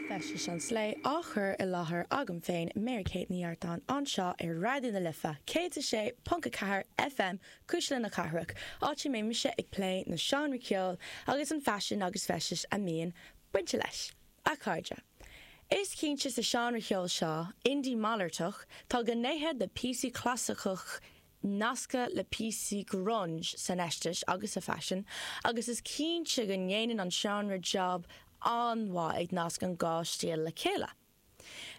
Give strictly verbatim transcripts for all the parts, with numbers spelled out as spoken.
Feistis an Slé á chur i láthair agam féin Mary Kate Ní Artáin anseo ar Raidió na Life céad a sé ponc a ceathair FM Cuisle na Cathrach, áit a mbíonn mise ag plé na seánraí ceoil agus an faisean agus feistis a mbíonn bainte leis. A chairde. Is cinnte sa seánra ceoil seo, indie malartach, tá gnéithe de píosaí clasaiceach nasctha le píosaí grunge san fheisteas agus sa faisean, agus is cinnte go ndéanann an seánra job an-mhaith ag nasc an dhá stíl le chéile.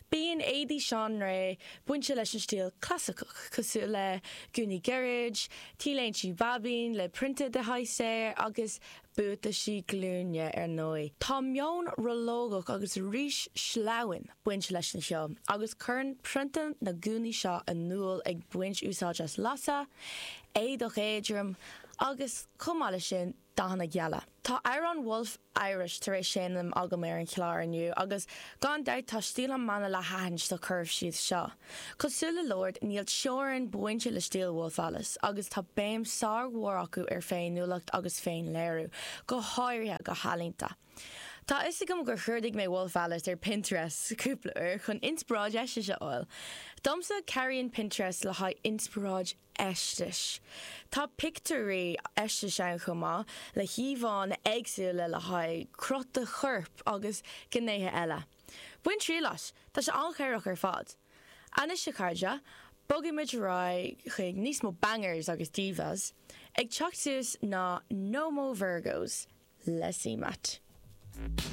Bíonn éadaí seanré bainte leis an stíl clasaiceach, cosúil le gúnaí gairid, T-léinte baibín le prionta de shaghas agus buataisí glúine ar ndóigh. Tá meon rollógach agus arís sleamhain bainte leis an cheol, agus cuireann prionta na gúnaí seo in iúl ag baint úsáid as lasadh, éadach éadrom agus chomh maith leis sin dathanna geala. Tá amhrán Wolf Irish tar éis seinm agam ar an chlár inniu agus gan dabht tá stíl an mbanna le haithint sa chur síos seo. Cosúil le Lorde níl teorainn bainte le stíl Wolf Alice agus tá béim sármhór acu ar féiniúlacht agus féinléiriú, go háirithe go healaíonta. Tá fhios agam gur chuardaigh mé Wolf Alice ar Pinterest cúpla uair chun inspioráid fheistis a fháil. Domsa cabhraíonn Pinterest le haghaidh inspioráid fheistis. Tá pictiúirí feistis ann chomh maith le híomhánna éagsúla le haghaidh cruth do choirp agus gnéithe eile. Bain triail as, tá sé an-chabhrach ar fad. Anois a chairde, bogfaimid ar aghaidh chuig níos mó bangers agus divas, ag teacht suas ná No Mo Virgos le CMAT.